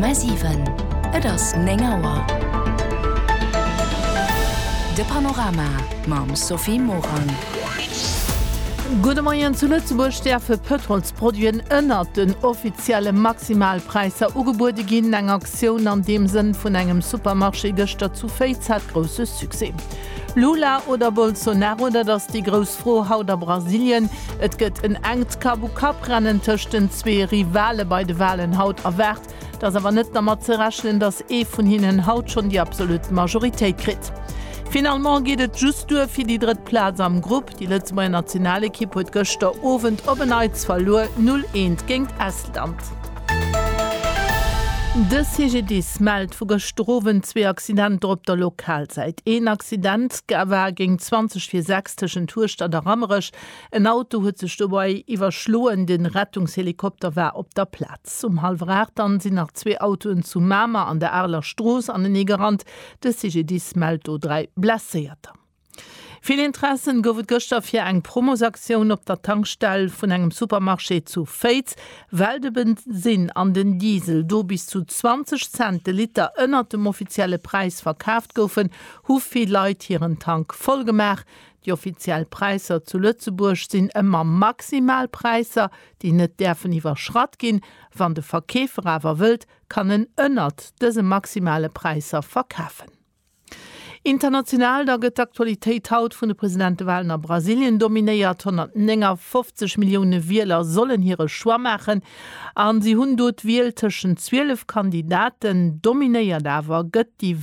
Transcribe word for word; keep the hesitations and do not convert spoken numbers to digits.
Komma siwen, Et ass néng Auer. De Panorama mam Sophie Morang. Gudde Moien, Zu Lëtzebuerg däerfe Pëtrolsproduiten ënnert den offizielle Maximalpräisser ugebuede ginn. Eng Aktioun an deem Sënn vun engem Supermarché gëschter zu Féiz hat grousse Succès. Lula oder Bolsonaro, dat ass déi grouss Fro haut a Brasilien. Et gëtt en enkt Kapp-u-Kapp-Rennen tëscht den zwee Rivale bei de Walen haut erwaart. Et ass awer net dermat ze rechnen, datt ee vun hinnen haut schonn déi absolut Majoritéit kritt. Finalement geet et just duer fir déi drëtt Plaz am Grupp. Déi Lëtzebuerger Nationalekipp huet gëschter Owend op en Neits verluer, null eent géint Estland. De C G D I S mellt vu gëschter Owend zwee Accidenter op der Lokalsäit. Een Accident war géint zwanzeg vir sechs tëschent Hueschtert a Rammerech. En Auto huet sech dobäi iwwerschloen, de Rettungshelikopter war op der Plaz. Um hallwer aacht dann sinn nach zwee Autoen zu Mamer an der Areler Strooss anenee gerannt. De C G D I S mellt do dräi Blesséierter. Vill Interessen gouf et gëschter fir eng Promosaktioun op der Tankstell vun engem Supermarché zu Féiz. Well de Bensinn an den Diesel do bis zu zwanzeg Cent de Liter ënnert dem offizielle Präis verkaaft goufen, hu vill Leit hiren Tank voll gemaach. Déi offiziell Präisser zu Lëtzebuerg sinn ëmmer maximal Präisser, déi net däerfen iwwerschratt ginn. Wann de Verkeefer awer wëllt, kann en ënnert dëse maximale Präisser verkafen. International da gëtt d'Aktualitéit haut vun de Presidentewalen a Brasilien dominéiert. honnertnéngafofzeg Millioune Wieler sollen hire Choix maachen a si hunn do d'Wiel tëschent zwielef Kandidaten. Dominéiert awer gëtt déi.